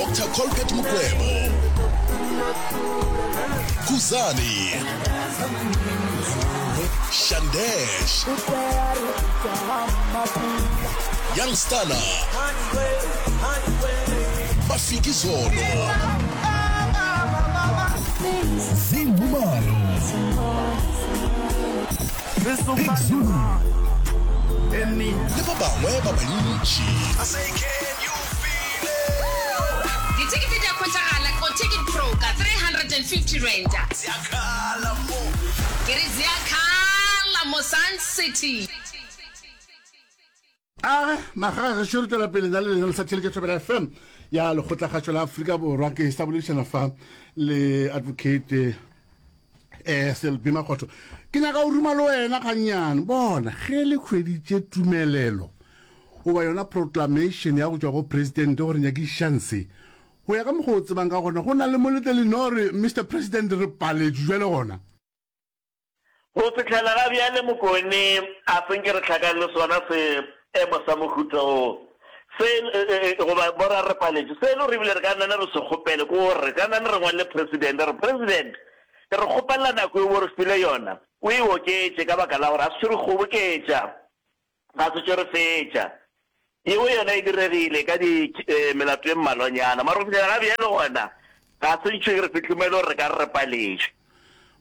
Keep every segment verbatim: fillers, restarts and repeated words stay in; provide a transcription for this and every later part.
Doctor Colbert Mukwevho, Khuzani, Shandesh, Young Stunna, Mafikizolo, Zingumalo, Big Zulu le ba bangwe ba bantši. Dithekete di a hwetšagala go Ticket Pro ka three hundred and fifty rand. Ke re ziakhala mo Sun City. A naga gešo re tšwela pele na le lena le sa theletša Thobela F M ya Lekgotlakgašo la Afrika Borwa. Ke sa boledišana fa le Advocate um Selby Makgotho. Ke nyaka go ruma le wena gannyane. Bona ge le hweditše tumelelo goba yona proclamation ya go tšwa go president gore nyakišišang se, go ya ka mokgwa o tsebang ka gona, go na le molete lenore Mister President re paletšwe jwale gona? Go fihlela ga bjale Mokone a se nke re hlakane le sona seemo sa mohuta wo. Se goba mo ra re paletšwe, se e le gore ebile re ka nna re se kgopele ke gore re ka nna re ngwalele President re re, President, re kgopelela nako yeo o re file yona o e oketše ka baka la gore ga se tšo re kgoboketša, ga se tšo re fetša. Yeo yona e diregile ka di melato e mmalwanyana, mara go fihlela ga bjale gona ga se ntšho e re fihlumele gore re ka re re paletšwe.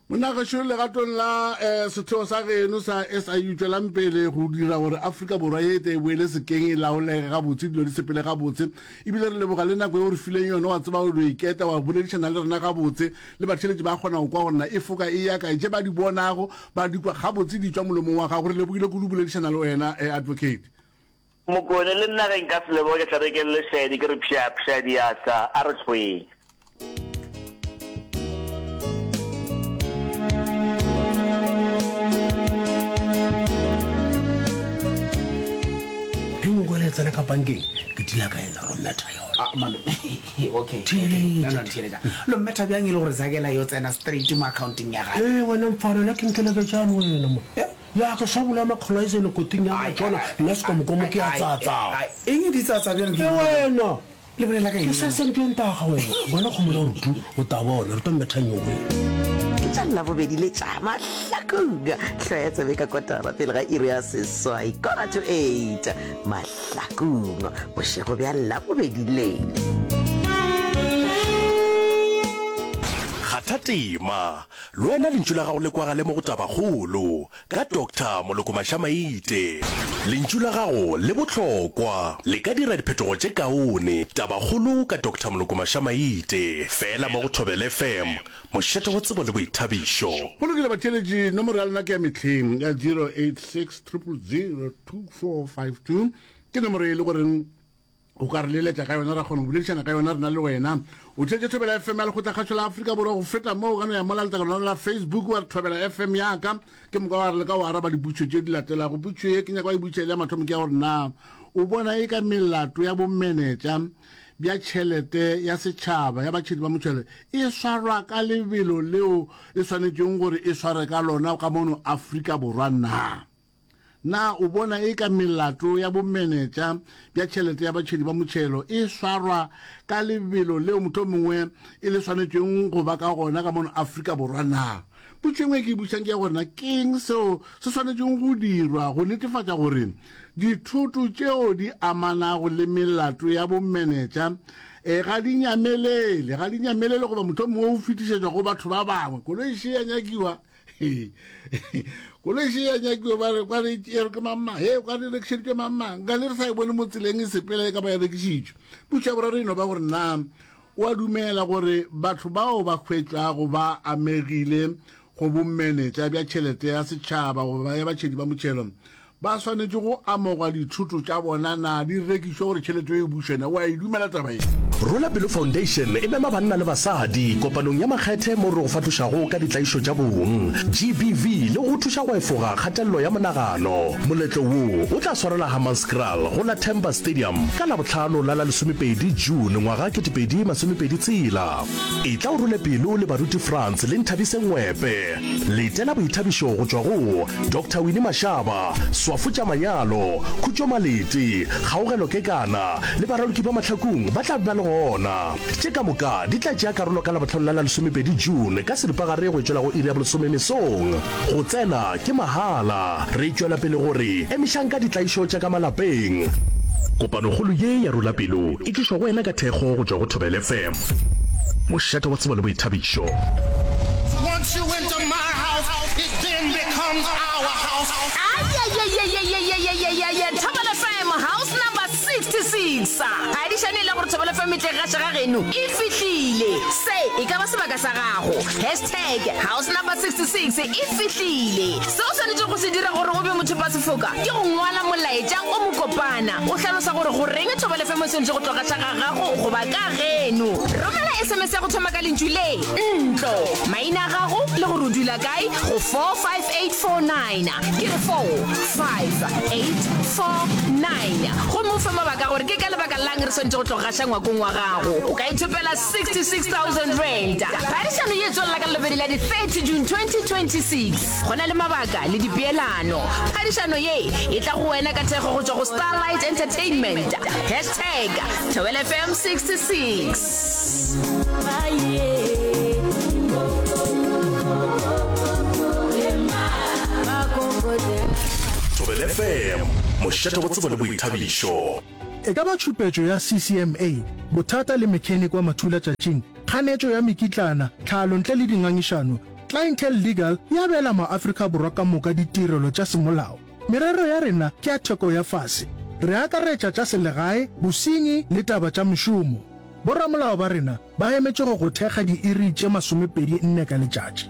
Monna gešo, legatong la setheo sa geno sa S I U, tšwelang pele go dira gore Afrika Borwa ye e tle e boele sekeng, e laolege gabotse, dilo di sepele gabotse. Ebile re leboga le nako ye o re fileng yona, wa tseba o no iketa wa boledišana le rena gabotse, le batheeletši ba kgona go kwa gore na e foka e ya kae, tše ba di bonago ba di kwa gabotse di tšwa molomong wa gago. Re lebogile kudu boledišana le wena, Advocate. Mokone, le nna ge nka se leboge ke tla be ke le lešaedi ke re pša pša diatla a re hlweng. Ge nkwele e tsena ka bankeng ke tila ka ena ro metha yona. Ah, malome. Okay. Okay. No, no, theeletša. Lo mmetha bjang e le gore Zakela yo tsena straight mo accounting ya gage? Ee, wena mfana, nna ke nkeleketšane wena mo. Ya ke sa bolaya makgolo a izele koting ya matšona, nna sekomokomo ke ya tsatsa. Eng di tsatsa bjalo ke E wena. Le bolela ka Ke eng? sa sentweng taga wena. Bona kgomo ya gore tu, o ta bona, re tlo mmetha nyoko. Ke tša Labobedi le tša Mahlakong. Hloya tsebe ka kotara pele ga iri ya seswai, quarter to eight. Mahlakong, bošego bja Labobedi le. Kgatha tema, le wena lentšu la gago le kwagale mo go Tabakgolo ka Doctor Moloko Mašamaite. Lentšu la gago le bohlokwa, le ka dira diphetogo tše kaone. Tabakgolo ka Doctor Moloko Mašamaite, feela mo go Thobela F M, mošate wa tsebo le boithabišo. Go lokile batheeletši, nomoro ya lena ke ya mehleng ya zero eight six triple zero two four five two, ke nomoro e le goreng o ka re leletša ka yona, ra kgona go boledišana ka yona rena le wena. O theetše Thobela F M ya Lekgotlakgašo la Afrika Borwa. Go feta moo, o ka no ya mola letlakalong la Facebook wa re Thobela F M ya ka, ke moka wa re leka go araba dipotšišo tše di latelago. Potšišo ye ke nyaka wa e botšiša e le ya mathomo ke ya gore na o bona e ka melato ya bomenetša bja tšhelete ya setšhaba ya batšhedi ba motšhelo e swarwa ka lebelo leo e swanetšeng gore e sware ka lona ka mono Afrika Borwa na? Na o bona e ka melato ya bomenetša bja tšhelete ya batšhedi ba motšhelo e swarwa ka lebelo leo mohlomongwe e le swanetšeng go ba ka gona ka mono Afrika Borwa na? Potšišo e nngwe e ke e botšišang ke ya gore na ke eng seo se swanetšeng go dirwa go netefatša gore dithoto tšeo di amanago le melato ya bomenetša e ga di nyamelele, ga di nyamelele goba mohlomongwe o fetišetšwa go batho ba bangwe. Koloi še ya nyakiwa, koloi še ya nyakiwa, ba re kwa re e re ke mamma, he kwa re rekišeditšwe mamma, nka le re sa e bone mo tseleng e sepela e ka ba e rekišitšwe. Potšišo ya boraro e no ba gore na o a dumela gore batho bao ba hwetšwago ba amegile go bomenetša bja tšhelete ya setšhaba goba ya batšhedi ba motšhelo ba swanetše go amogwa dithoto tša bona, na di rekišwe gore tšhelete e bušwe? Na o a e dumela taba ye? Rola Pelo Foundation e mema banna le basadi kopanong ya makgethe mo re go fahlošago ka ditlaišo tša bong, G B V, le go go thuša go efoga kgatelelo ya monagano. Moletlo wo o tla swarelwa Hammanskraal go la Temba Stadium ka Labohlano la la lesomepedi June ngwaga ketepedi masomepedi tshela. Etla o role pelo le baruti Frans le Nthabiseng Ngwepe. Letela boithabišo go tšwa go Doctor Winnie Mashaba, Swa Swafo tša Manyalo, Khutšo Malete, Kgaogelo Kekana le baraloki ba Mahlakung ba tla be ba le gona. Tše ka moka di tla tšea karolo ka Labohlano la la lesomepedi June ka seripagare go tšwela go iri ya bolesome mesong. Go tsena ke mahala. Re tšwela pele go re emišang ka ditlaišo tša ka malapeng. Kopanokgolo ye ya Rula Pelo e tlišwa go wena ka thekgo go tšwa go Thobela F M, mošate wa tsebo le boithabišo. Once you enter my house, it then becomes our house. Ayayayayayayayayaya Thobela F M house number sixty six Phadišano e le gore Thobela F M e tle gaša ga geno e fihlile. Se e ka ba sebaka sa gago. Hashtag house number sixty six e fihlile. Se o swanetšego go se dira gore o be mothopasefoka ke go ngwala molaetša o mokopana o hlalosa gore goreng Thobela F M e swanetše go tlo gaša ga gago goba ka geno. Romela S M S ya go thoma ka lentšu le ntlo, maina a gago le gore o dula kae go four five eight four nine. Ke re four five eight four nine. Gomme o fe mabaka gore ke ka lebaka lang re swanetše go tlo gaša ngwakong wa gago. O ka ithopela sixty six thousand rand. Phadišano ye e tswelela ka Labobedi la di thirty June twenty twenty six. Go na le mabaka le dipeelano. Phadišano ye e tla go wena ka thekgo go tšwa go Starlight Entertainment. Hashtag Thobela F M sixty six. Thobela F M, mošate wa tsebo le boithabišo. E ka ba tšhupetšo ya C C M A, bothata le mechanic wa mathulatšatšing, kganetšo ya mekitlana, tlhalo ntle le dingangišano, Clientele Legal e abela maAfrika Borwa ka moka ditirelo tša semolao. Merero ya rena ke ya theko ya fase. Re akaretša tša selegae, bosenyi le taba tša mešomo. Boramolao ba rena ba emetše go go thekga diiri tše masomepedi nne ka letšatši.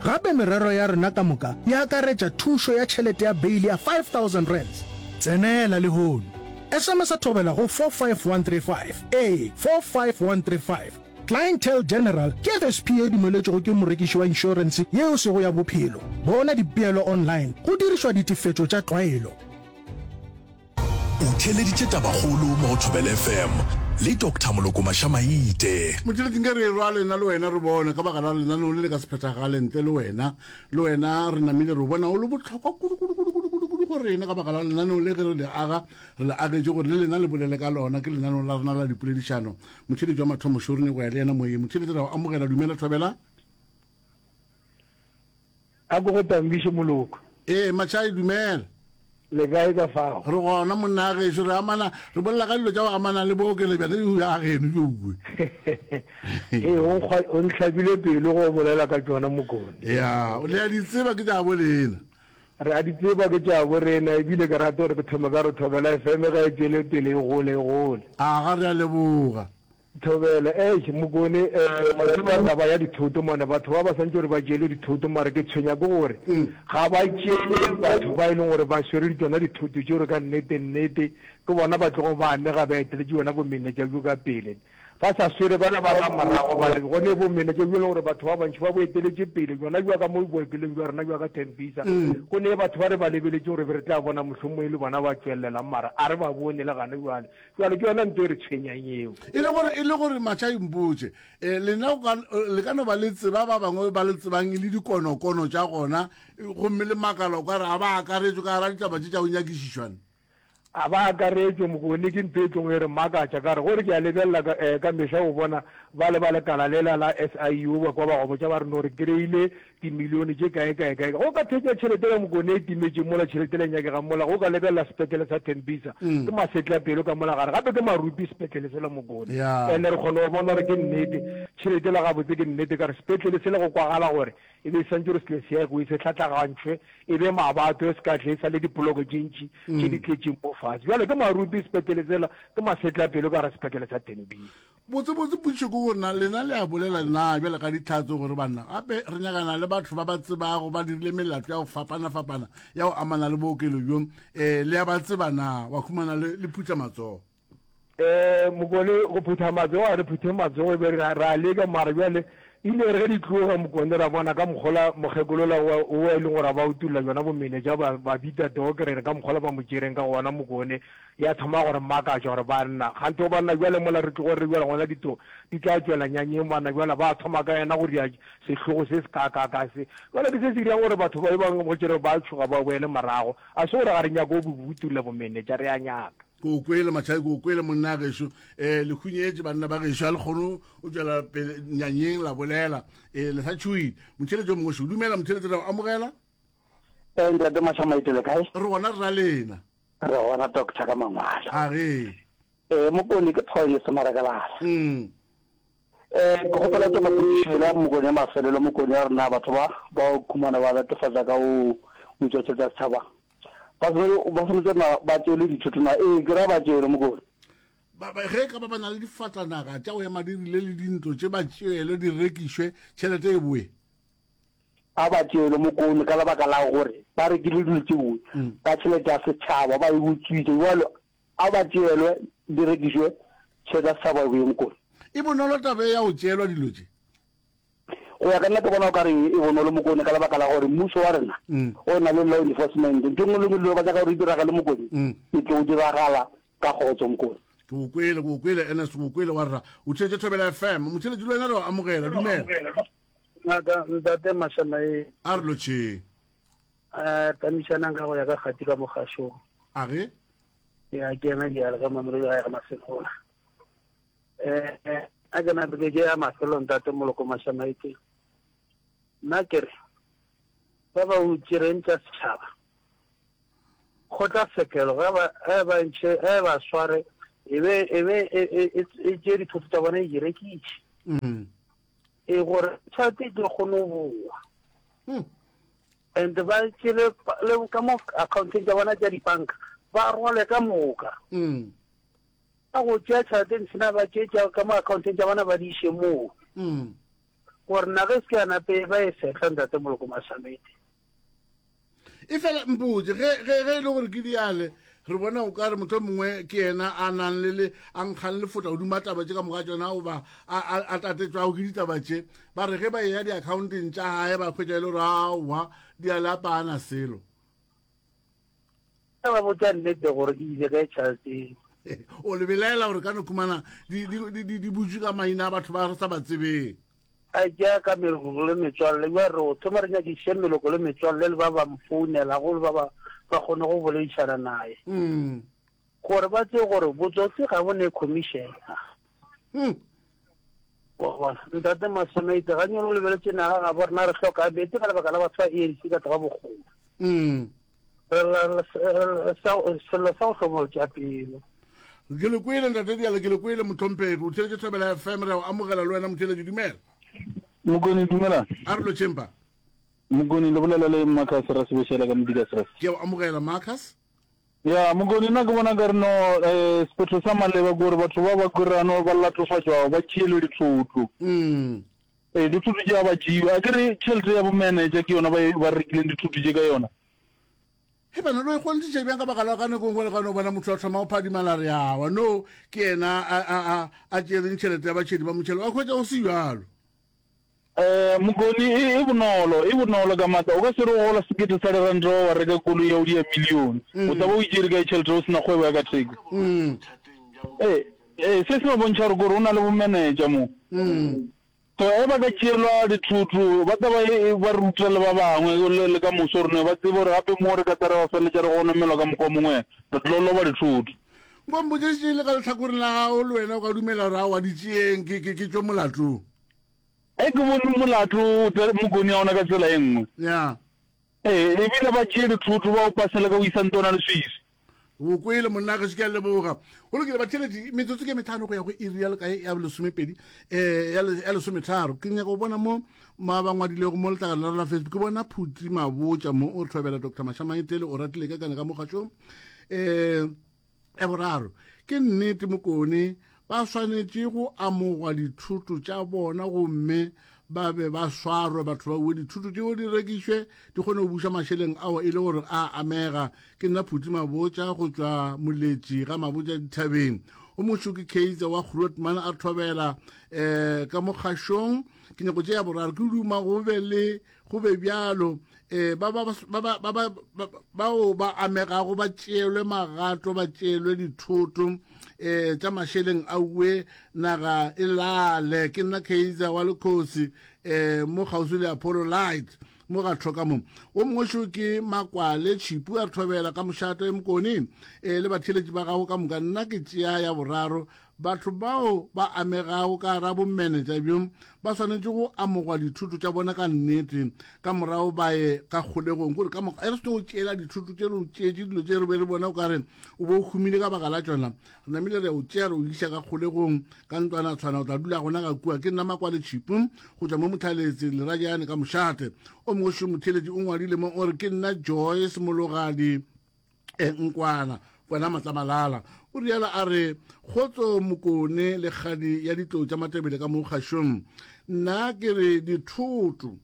Gape merero ya rena ka moka e akaretša thušo ya tšhelete ya beile ya five thousand rands. Tsenela lehono. S M S thobela go four five one three five. Ee, four five one three five. Clientele General ke F S P ye dumeletšwego ke morekiši wa inšorense yeo e sego ya bophelo. Bona dipeelo online go dirišwa ditefetšo tša tlwaelo. O theeleditše Tabakgolo mo go Thobela F M le Doctor Moloko Mašamaite. Motšheletši nke re erwa lena le wena re bone ka baka la lenaneo le le ka se phethagale ntle le wena. Le wena re namile re o bona o le bohlokwa kudu kudu kudu kudu kudu kudu go rena ka baka la lenaneo le ge re le aga re le agetše gore le lena le bolele ka lona. Ke lenaneo la rena la dipoledišano. Motšheletši wa mathomo šo re nyako ya le yena moyeng. Motšheletši re a o amogela. Dumela Thobela. A ko go tambiše Moloko. Ee Matšhai dumela. Le kae ka fao? Re gona monna gešo, re amana, re bolela ka dilo tša go amana le bookelo bjale ya geno bjo. Ee, o nkgwa, o ntlhabile pelo go bolela ka tšona Mokone. Ya, le a di tseba ke tša bo lena. Re a di tseba ke tša bo rena, ebile ke rata gore ke thome ka re Thobela F M ge e tšwele pele e gole e gole. Aga, re a leboga. Thobela, Eish, Mokone, eh, wa tseba taba ya dithoto mone, batho ba ba santše gore ba tšeele dithoto, mara ke tshwenya ke gore ga ba tšeele batho ba e leng gore ba swere tšona dithoto tšeo, ka nnete nnete ke bona ba tlogo ba amega, ba eteletše yona bomenetša bjo ka pele. Ba sa swere bana ba ka morago ba re gone bomenetša bjo e leng gore batho ba bantši ba bo eteletše pele, bjona bja ka mo bookelong bja rena bja ka Tembisa, go ne batho ba re ba lebeletše gore be re tla bona mohlomongwe e le bona ba tšwelelang, mara a re ba bone le gane bjale. Bjale ke yona nto e re tshwenyang eo. E le gore, e le gore Matšhai mpotše, eh, lena go ka, le ka no ba le tseba ba bangwe ba le tsebang e le dikonokono tša gona, gomme le makala o ka re a ba akaretšwe ka gara ditaba tše tša go nyakišišwa. A ba akaretšwe, Mokone, ke ntho e tlogo e re makatša ka re gore ke a lebelela ka, eh, ka mehla o bona ba le ba lekala lela la S I U ba kwa ba go botša ba re no re kry-ile dimilione tše kae kae kae. Go ka thetša tšhelete ya Mokone e timetše mola tšhelete le nyakegang mola, go ka lebelela sepetlele sa Tembisa ke masetlapelo ka mola gare, gape ke marupi sepetlele sela Mokone. Ene re kgona go bona gore ke nnete tšhelete la gabotse ke nnete ka re sepetlele sela go kwagala gore e be e santše gore se tle se agiwe se hlatlagantšhwe e be mabato e se ka tle e sa le dipoloko tše ntši tše di tletšeng mo fase. Bjale ke marupi sepetlele sela ke masetlapelo ka gare sepetlele sa Tembisa. Botsebotse potšišo ke gore na lena le a bolela na bjale ka dihlatse gore banna gape re nyakana le batho ba ba tsebago ba dirile melato ya go fapana-fapana ya go amana le bookelo bjo, um le a ba tseba na wa khumana le, le phutha matsogo? Um Mokone, go phutha matsogo ga re phuthe matsogo, e be re, re a leka mara bjale Ile re ge di tloga Mokone ra bona ka mokgola mokgekolola wa o e leng gore ba utulla jona bomenetša ba ba bitsa Doc re re ka mokgola ba mo tšereng ka gona Mokone ya thoma go re makatša gore banna kganthe go banna bjale mola re tlogo re bjale gona dito di tla tšwela nyanyeng banna bjale ba thoma ka yena go ria sehlogo se se kaakaakaa se bjale ke se se dirang gore batho ba bangwe go tšere ba tšhoga ba boele morago a se gore ga re nyake go utulla bomenetša re a nyaka. Ke o kwele, Machai, ke o kwele, monna gešo. Eh, le hunyetše banna ba gešo, a le kgone o tšwela pele nyanyeng la bolela. Eh, le sa tšhoile. Motheeletši yo mongwe šo. Dumela, motheeletši, re a o amogela. Eh, ntate Mashamaite le kae? Re gona rra lena. Re gona doctor ka mangwalo. A ge. Eh, Mokone ke Paul Semarakalala. Mm. Eh, ke kgopela tšona potšišo yela Mokone ya mafelelo Mokone ya rena batho ba ba o khumana ba latofatša ka o utswa tšhelete ya setšhaba. Ba swanetše, ba swanetše na ba tšeelwe dithoto na? Ee, ke ra ba tšeelwe, Mokone. Ba, ba, ge e ka ba ba na le difatanaga tša go ema di rile le dintlo tše, ba tšeelwe di rekišwe, tšhelete e boe. A ba tšeelwe, Mokone, ka lebaka la gore ba rekile dilo tšeo ka tšhelete ya setšhaba, ba e utswitše. Bjalo a ba tšeelwe di rekišwe, tšhelete ya setšhaba e boe, Mokone. E bonolo taba ye ya go tšeelwa dilo tše. Go ya ka nna ke bona o ka re e bonolo Mokone ka lebaka la gore mmušo wa rena o na le law enforcement. Ntho e nngwe le nngwe dilo ba nyaka gore e diragale Mokone e tlo diragala ka kgotso Mokone. Ke o kwele, ke o kwele Ernest, ke o kwele wa rra. O theetše Thobela F M. Motheeletši le wena re o amogela. Dumela. Ngaka Ntate Mashamae. A re lotšheng. Eh, tamišanang ka go ya ka kgati ka mogašong. A ge? Ya ke ena diale ka Mamelodi ga ya ga Masemola. Eh, a ke na ke ya mafelo ntate Moloko Mashamaite. Nna ke re ba ba utšereng tša setšhaba kgotlatshekelo ge ba ge ba ntšhe ge ba sware e be e be e e e e tšee dithoto tša bona e di rekiše Mm. e gore tšhelete e tlo kgone go boa Mm. and ba tšele le ka mo accounteng tša bona tša dibanka ba rwale ka moka Mm. Ka go tšea tšhelete ntšhina ba tšee tša ka mo accounteng tša bona ba di iše moo. Mm. Gore naga e se ke ya nape ba e fehla ntate Moloko Masamete. E fela mpotše ge ge ge e le gore ke diale re bona o ka re motho mongwe ke yena a nang le le a nkgang lefotla godimo a taba tše ka moka tšona goba a a a tatetšwago ke ditaba tše ba re ge ba eya di-accounteng tša gae ba hwetša e le gore aowa diale a paana selo. Ka ba botša nnete gore e ile kae tšhelete eo. O le belaela gore ka no khumana di, di, di, di, di butšwe ka maina a batho ba re sa ba tsebeng. A tšea ka meloko le metswalle. Bjale re o thoma re nyakišiše meloko le metswalle le ba ba mo founelago le ba ba ba kgone go boledišana naye. Mm. Gore ba tsebe gore botsotsi ga bo ne commission. Mm. Wa bona, Ntate Masomeite, ganyane o lebeletše naga gabo rena re hloka meetse ka lebaka la batho ba A N C ka tloga bokgole. Mm. Re lla sello sa go hlomolotša pelo. Ke le kwele Ntate Diale, ke le kwele Mohlomphegi. O theeletše Thobela F M, re a o amogela le wena motheeletši. Dumela. Mokone, dumela. A re lotšheng pa. Mokone, le bolela le Marcus Rasebešela ka Modikasrest. Ke a o amogela Marcus. Ya, Mokone, nna ke bona ka re no eh, sephetho sa maleba ke gore batho ba ba kwirano ba latofatšwago ba tšeelwe dithoto. Mm. Ee, dithoto tše a ba tšewe. A ke re tšhelete ya bo manager ke yona ba e, ba rekileng dithoto tše ka yona. He bana, lo ikgonthiša bjang ka baka la ka nako nngwe le ka no bona motho a thoma go phadimala re awa no ke yena a, a, a, a tšereng tšhelete ya batšhedi ba motšhelo wa hwetša go se bjalo. Eh, Mokoni, e, e bonolo, e bonolo ka maatla. O ka se re o gola sekete sa diranta wa wa reka koloi ya o dia milione. O tla ba o itšere kae tšhelete o se na kgwebo ya ka theko? Eh, eh, se se no bontšha gore kore o na le bomenetša mo. So ge ba ka tšeelwa dithoto, ba tla ba e, ba ruta le ba bangwe le, le ka moso gore ne ba tsebe gore gape mo re ka tla re ba feleletša re gonomelwa ka mokgwa o mongwe, re tlo loba dithoto. Nko mpotše tše le ka lehlakoreng la gago, le wena o ka dumela gore aowa di tšeeng, ke, ke, ke tšwe molatong. Ge ke bone molato o tla Mokoni a ona ka tsela e nngwe. Ya. Ee, ebile ba tšee dithoto ba o pasele ka o isa ntona leswiswi. O kwele monna gešo, ke a leboga. Go lokile batheeletši, metsotso ke metlhano go ya go iri ya lekae ya lesomepedi, eh, ya le, ya lesometharo. Ke nyaka go bona mo ma ba ngwadilego mo letlakaleng la rona la Facebook. Ke bona Phuti Mabotja mo o re thobela Doctor Mashamaetele o ratile ka kana ka mogašong. Eh, ya boraro, ke nnete Mokone ba swanetše go amogwa dithoto tša bona gomme ba be ba swarwe batho ba uwe dithoto tšeo di rekišwe di kgone go buša mašeleng ao e le gore a amega. Ke nna Phuti Mabotja go tšwa Moletši ga Mabotja dithabeng. O mongwe ke Kaizer wa Grootman a thobela um ka mo kgašong. Ke nyako tše ya boraro, ke duma go be le go be bjalo um ba ba ba ba ba bao ba amegago ba tšeelwe magato, ba tšeelwe dithoto um tša mašeleng a uwe naga e lale. Ke nna Kaizer wa Lekgosi um mo kgauswi le Apollo Light mo ga tlhoka mo. O mongwe šo ke Makwale Tšhipu a re thobela ka mošato e Mokone um le batheeletši ba gago ka moka. Nna ke tšea ya boraro, batho bao ba amegago ka gara bomenetša bjo ba swanetše go amogwa dithoto tša bona ka nnete, ka morago ba ye ka kgolegong. Kore ka moka e re se go tšeela dithoto tše, re o tšeetše dilo tše re be re bona o ka re o bo o humile ka baka la tšona, re namile re o tšea re o iša ka kgolegong ka ntlwana tshwana, o tla dula gona ka kua. Ke nna Makwale Tšhipu go tšwa mo Mothaletse Lerajane ka mošate. O mongwe šo motheeletši o ngwadile mo o re ke nna Joyce Mologadi e Nkwana kwana Matlamalala. O rialo a re kgotso Mokone le kgadi ya ditlou tša Matebele ka mo kgašong. Nna ke re dithoto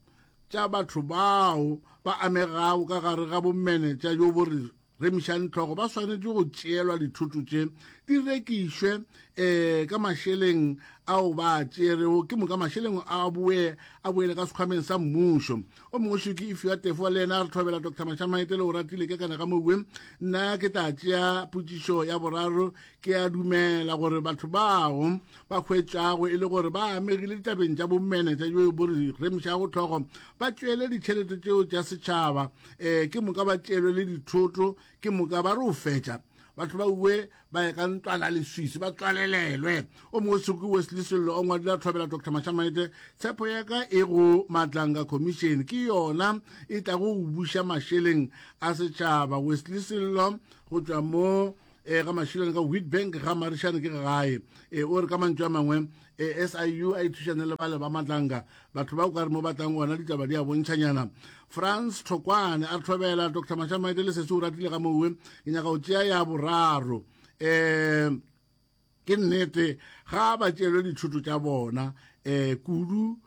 tša batho bao ba amegago ka gare ga bomenetša jo bo re remišang tlhogo ba swanetše go tšeelwa dithoto tše di rekišwe um ka mašeleng ao ba tšerego, ke moka mašeleng a boe a boele ka sekhwameng sa mmušo. O mongwe šo ke Ifiwa Tefo, le yena a re thobela Doctor Mashamaite le o ratile ke kana ka mowe. Nna ke tla tšea potšišo ya boraro. Ke a dumela gore batho bao ba hwetšago e le gore ba amegile ditabeng tša bomenetša jo bo re remišago tlhogo ba tšeele ditšhelete tšeo tša setšhaba um ke moka ba tšeelwe le dithoto, ke moka ba re o fetša batho ba uwe ba ye ka ntlwana leswisi ba tswalelelwe. O mongwe soko Wesley Sello o ngwadile a thobela Doctor Mashamaite, tshepo ya ka e go Matlanga Commission, ke yona e tlago go buša mašeleng a setšhaba. Wesley Sello go tšwa mo e ga mašeleng ka Witbank ga Marišane ke gae. E o re ka mantšu a mangwe e S I U a ithušane le bale ba Matlanga, batho ba o ka re mo batlang gona ditaba di a bontšhanyana. France Thokwane a re thobela Doctor Mashamaite le sese o ratile ga mowe, ke nyaka go tšea ya boraro. Um ke nnete ga ba tšeelwe dithoto tša bona um kudu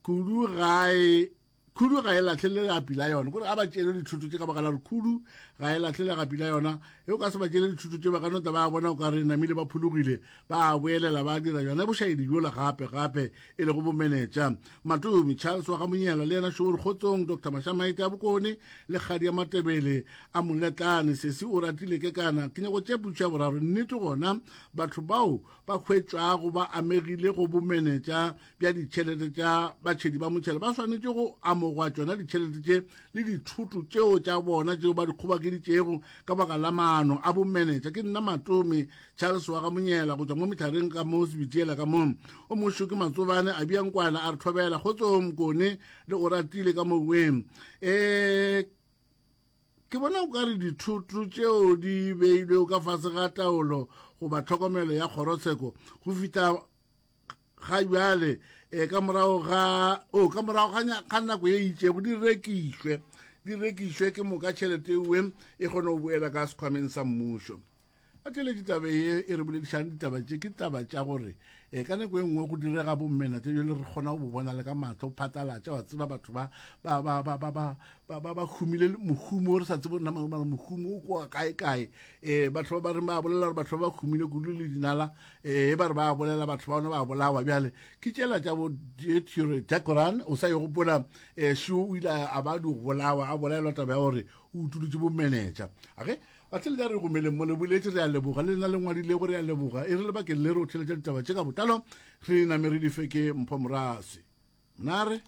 kudu gae khudu ga e lahlele legapi la yona. Kore ga ba tšeele dithoto tše ka baka la gore khudu ga e lahlele legapi la yona, e o ka se ba tšeele dithoto tše ba ka no tla ba bona o ka re namile ba phologile, ba boelela ba dira yona bošaedi bjola gape gape e lego bomenetša. Matomi Charles wa ga Monyela le yena šo o re kgotsong Doctor Mashamaite a Bokone le kgadi ya Matebele a Moletlane, sesi o ratile ke kana. Ke nyako tšea potšišo ya boraro. Nnete gona batho bao ba hwetšwago ba amegile go bomenetša bja ditšhelete tša batšhedi ba motšhelo ba swanetše go amogwa tšona ditšhelete tše le dithoto tšeo tša bona tšeo ba di kgobakeditšego ka baka la maano a bomenetša. Ke nna Matomi Charles wa ga Monyela go tšwa mo Mehlareng ka mo Sebitiela ka mo. O mongwe ke Matsobane a Biankwana a re thobela kgotsong Mokone le o ratile ka moweng. Um ke bona o ka re dithoto tšeo di beilwego ka fase ga taolo goba tlhokomelo ya kgorotsheko go fihla ga bjale um ka morago ga o ka morago ga nako ye itšego di rekišwe di rekišwe ke moka tšhelete ewe e kgone go boela ka sekhwameng sa mmušo. A theletše taba ye e re boledišang ditaba tše ke taba tša gore um ka nako e nngwe go direga bomenetša jale re kgona go bo bona le ka mahlo phatlalatša, wa tseba batho ba ba ba ba ba ba ba ba ba humile mohumo re sa tsebe nna mara mohumo o kwa kae kae. Um batho ba ba reng ba bolela gore batho ba ba humile kudu le dinala um ba re ba bolela batho ba bona ba bolawa. Bjale ke tšela tša bo Decoran o sa e gopola um šo o ile a ba di bolawa a bolaelwa taba ya gore o utulotše bomenetša. Age batheletša re gomeleng mo le boletše, re a leboga le lena le ngwadilego, re a leboga. E re lebakeng le re o theletša ditaba tše ka botlalo, re name re di fe ke Mpho Morase. Mna re